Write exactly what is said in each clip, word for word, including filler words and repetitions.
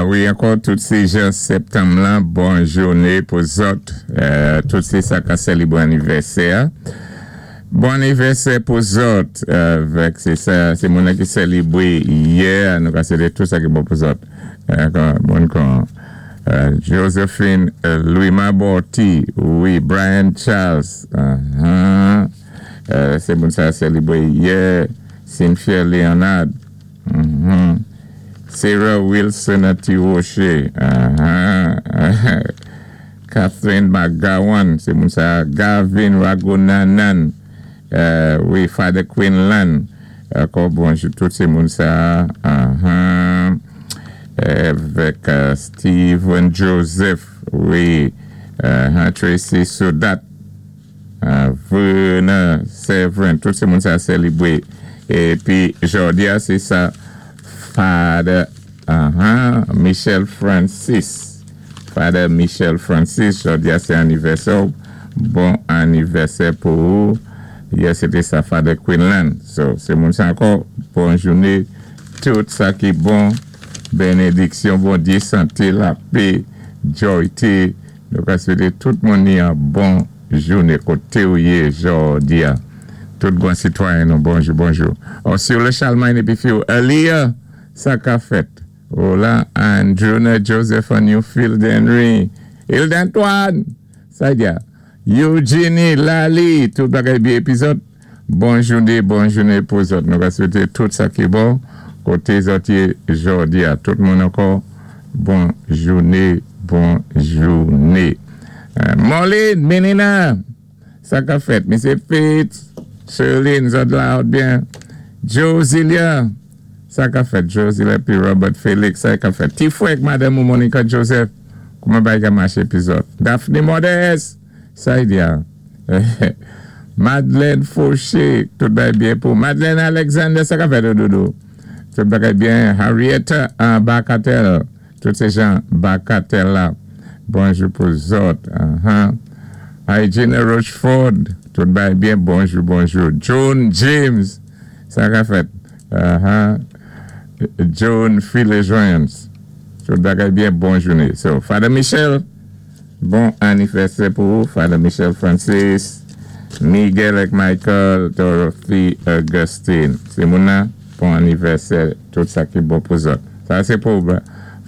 Wi, ankò tout sé jan septanm la, bon jouné pou zòt, euh, tout sé sa ka sélibwé anivèsè. Bon anivèsè pou zòt, avèk sé sa, sé moun ki sélibwé yè, nou ka swété tout sa ki bon pou zòt. Euh, bon kon euh, Josephine euh, Louis Maborti, wi, Brian Charles, uh-huh. euh, sé moun sa sélibwé yè, Cynthia Leonard, uh-huh. Sarah Wilson Atiroche, uh-huh. Catherine McGowan, sé moun sa, Gavin Ragunanan, euh, wi, Father Quinlan, ankò bonjou, tout sé moun sa, uh-huh. Avèk euh, Steven Joseph, wi, uh, Tracy Sodat, uh, Verna Severin, tout sé moun sa sélibwé. Épi, jòdi a, sé sa, Father uh-huh, Michel Francis. Father Michel Francis, jòdi a, sé anivèsè. Bon anivèsè pou ou. Yè, sété sa, Father Quinlan. So, sé moun sa ankò. Bon jouné. Tout sa ki bon. Bénédiksyon, Bondyé, santé, lapè, joyté. Nou ka swété tout moun yon bon jouné koté ou yé jòdi a. Tout bon sitwayen nou, bonjou, bonjou. Oh, sur le Chalmagne épi fi Elia, sa ka fèt. Hola, Andrew, Joseph, Newfield, Henry, Hilde Antoine, sa di Eugenie, Lali, tout bagay byen épi zòt. Bon jouné, bon jouné pou zòt. Nou ka swété tout sa ki bon. Koté zòt yé jòdi a tout moun ankò. Bon jouné, bon jouné. Euh, Molly, Menina, sa ka fèt. Misye Fitz, Sherlyn, zòt la byen. Josilia, sa ka fèt. Josilia épi Robert Félix, sa ka fèt. Tifouek, Madame ou Monica Joseph, kouman bagay ka maché épi zòt. Daphne Modeste, sa y di a. Madeleine Fauché, tout bagay byen pou. Madeleine Alexander, sa ka fèt doudou. Tout bagay byen. Harriet uh, Bacatel, tout sé jan Bacatel la. Bonjou pou zòt. Uh-huh. Hygiene Rochefort, tout bagay byen. Bonjou, bonjou. John James, sa ka fèt. Uh-huh. John Philly Jones. Tout bagay byen, bon jouné. So, Father Michel, bon anivèsè pou ou. Father Michel Francis, Miguel et Michael, Dorothy Augustine. Sé moun nan, bon anivèsè, tout sa ki bon pou zòt. Sa, sé pou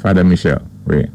Father Michel, wi.